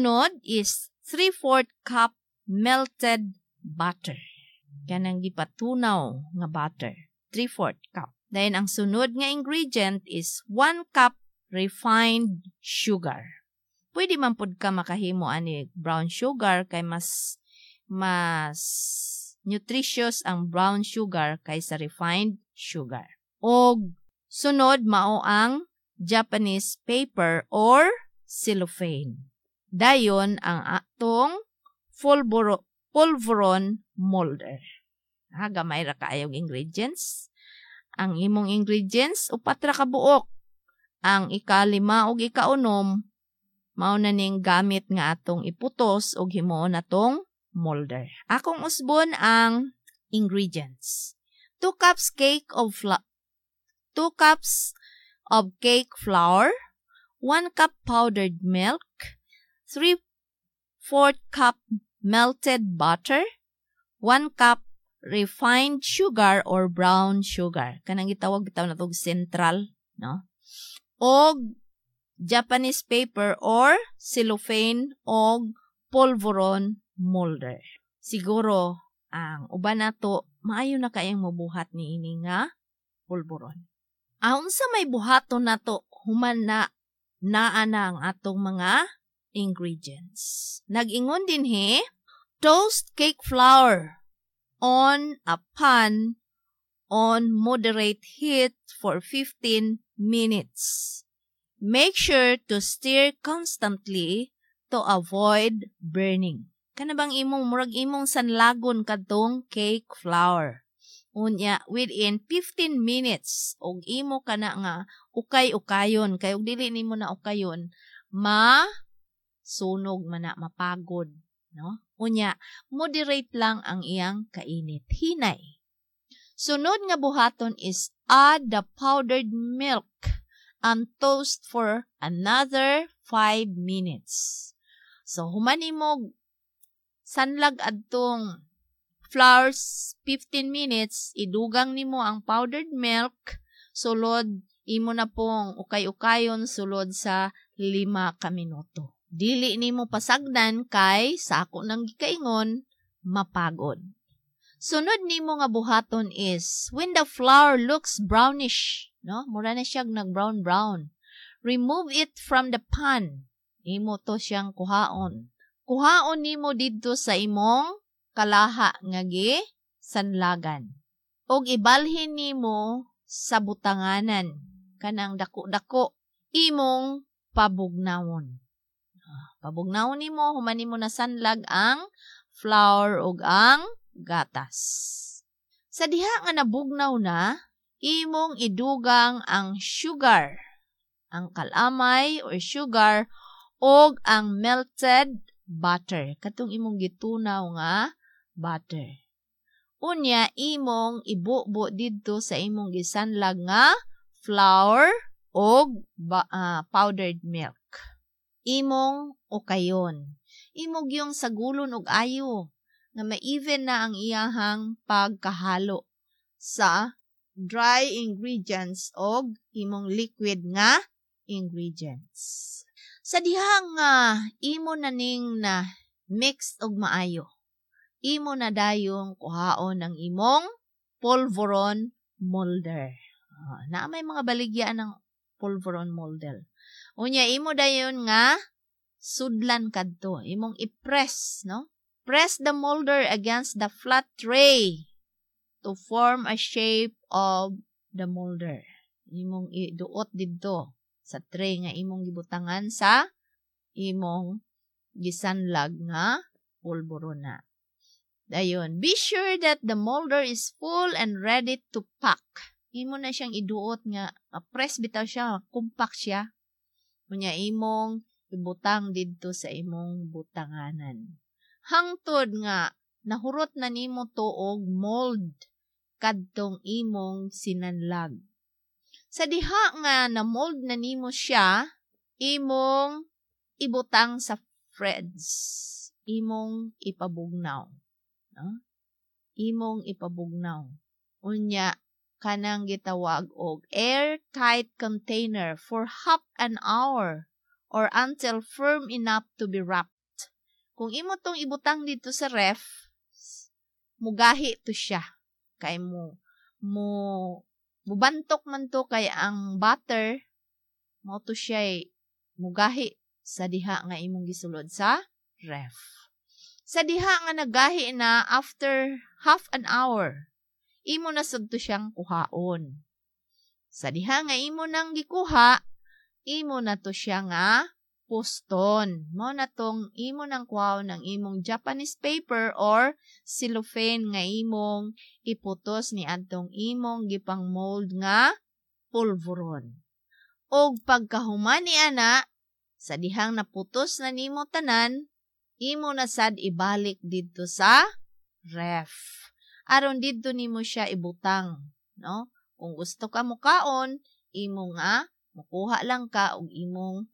Sunod is 3/4 cup melted butter. Kanang gipatunaw nga butter. 3/4 cup. Then, ang sunod nga ingredient is 1 cup refined sugar. Pwede man pud ka makahimo ani brown sugar kay mas nutritious ang brown sugar kaysa refined sugar. Og sunod mao ang Japanese paper or cellophane. Dayon ang atong polvoron molder. Ha, gamay ra kaayong ingredients. Ang imong ingredients, upat ra ka buok. Ang ikalima ug ikaunom mao na ning gamit nga atong iputos ug himuon natong molder. Akong usbon ang ingredients. 2 cups of cake flour, 1 cup powdered milk, 3/4 cup melted butter, 1 cup refined sugar or brown sugar. Kanang gitawag bitaw na tog Central, no? Og Japanese paper or cellophane og polvoron molder. Siguro ang uban nato maayo na kayang mobuhat niini nga polvoron. Unsa may buhaton nato human na naa na ang atong mga ingredients? Nag-ingon dinhi, toast cake flour on a pan on moderate heat for 15 minutes. Make sure to stir constantly to avoid burning. Kana bang imong murag imong sanlagon kadtong cake flour. Unya within 15 minutes og imo kana nga ukay-ukayon kay og dili nimo na ukayon, ma sunog man na, mapagod, no? Unya moderate lang ang iyang kainit, hinay. Sunod nga buhaton is add the powdered milk and toast for another 5 minutes. So human nimo sanlag adtong flours 15 minutes, idugang nimo ang powdered milk, sulod imo na pong ukay-ukayon sulod sa 5 ka minuto. Dili nimo pasagdan kay sa ako nang gikaingon, mapagod. Sunod nimo nga buhaton is when the flour looks brownish, no? Mura na siya nag brown brown. Remove it from the pan. Imo to siyang kuhaon. Kuhaon nimo didto sa imong kalaha nga gi sanlagan. Og ibalhin nimo sa butanganan kanang dako-dako, imong pabugnawon. Pabugnawon nimo human nimo nasanlag ang flour ug ang gatas. Sa diha nga nabugnaw na, imong idugang ang sugar, ang kalamay or sugar og ang melted butter, katong imong gitunaw nga butter. Unya imong ibubo didto sa imong gisanlag nga flour og powdered milk. Imong ukayon. Imo gyung sagulon og ayo nga ma-even na ang iyahang pagkahalo sa dry ingredients og imong liquid nga ingredients. Sa diha nga imo na ning na mix og maayo, imo na dayong kuhaon ang imong polvoron molder. Naa may mga baligya ng polvoron molder. Unya imo dayon nga sudlan kadto, imong i-press, no? Press the molder against the flat tray to form a shape of the molder. Imong iduot didto sa tray nga imong gibutangan sa imong gisanlag nga polvorona. Dayon, be sure that the molder is full and ready to pack. Imo na siyang iduot nga press bitaw siya, compact siya. Unya imong ibutang didto sa imong butanganan. Hangtod nga nahurot na nimo to og mold kadtong imong sinanlag. Sa diha nga na mold na nimo siya, imong ibutang sa fridge. Imong ipabugnaw. No? Imong ipabugnaw. Unya kanang gitawag og airtight container for half an hour or until firm enough to be wrapped. Kung imo tong ibutang dito sa ref, mugahi to siya. Kay mo mo mubantok man to kay ang butter mo to siya mugahi sa diha nga imong gisulod sa ref. Sa diha nga nagahi na after half an hour, imo na sad to siyang kuhaon. Sa diha nga imo nang gikuha, imo na to siya nga puston. Mao na tong imo nang kuhaon ng imong Japanese paper or cellophane nga imong iputos ni adtong imong gipang mold nga pulveron. Og pagkahuman ni ana, sa dihang naputos na nimo tanan, imo na sad ibalik didto sa ref. Aron didto nimo siya ibutang, no? Kung gusto ka mukaon, imo nga mukuha lang ka og imong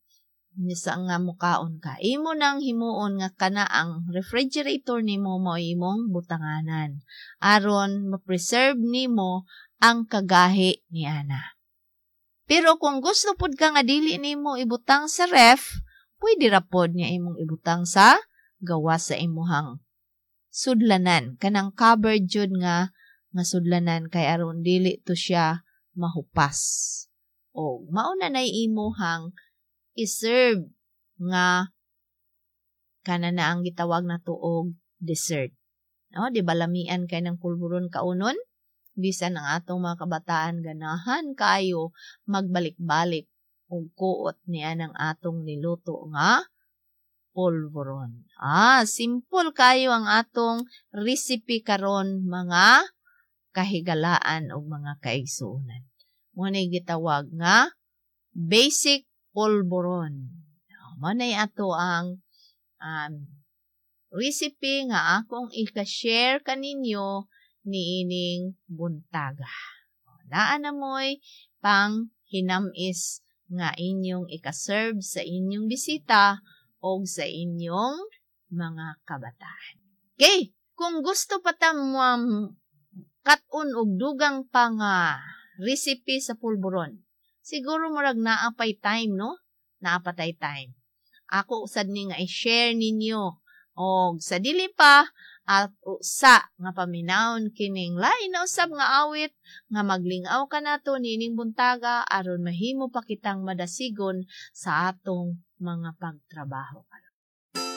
sa nga mukaon ka. Imo nang himuon nga kana ang refrigerator nimo mo imong butanganan aron ma-preserve nimo ang kagahi ni ana. Pero kung gusto pud ka nga dili nimo ibutang sa ref, pwede ra pod nga imong ibutang sa gawas sa imuhang sudlanan, kanang covered jud nga nga sudlanan kay aron dili to siya mahupas. O mao na nay imuhang i-serve nga kana na ang gitawag na og dessert. No, di ba lamian kay ng pulburon kaunon? Bisan ang atong mga kabataan ganahan kaayo magbalik-balik og kuot niya ng atong niluto nga polvoron. Ah, simple kayo ang atong recipe karon, mga kahigalaan og mga kaigsuonan. Mao gitawag nga basic polvoron. Mao nay ato ang recipe nga akong ika-share kaninyo niining buntaga. Naa na mo'y pang hinamis nga inyong ika-serve sa inyong bisita o sa inyong mga kabataan. Okay, kung gusto pa ta kat-on og dugang pa nga recipe sa pulburon, siguro murag naa pay time, no? Naa pa tay time. Ako usad ni nga i-share ninyo og sa dili pa at usa nga paminawon kining lain na usab nga awit nga maglingaw kanato niining buntaga aron mahimo pa kitang madasigon sa atong mga pagtrabaho.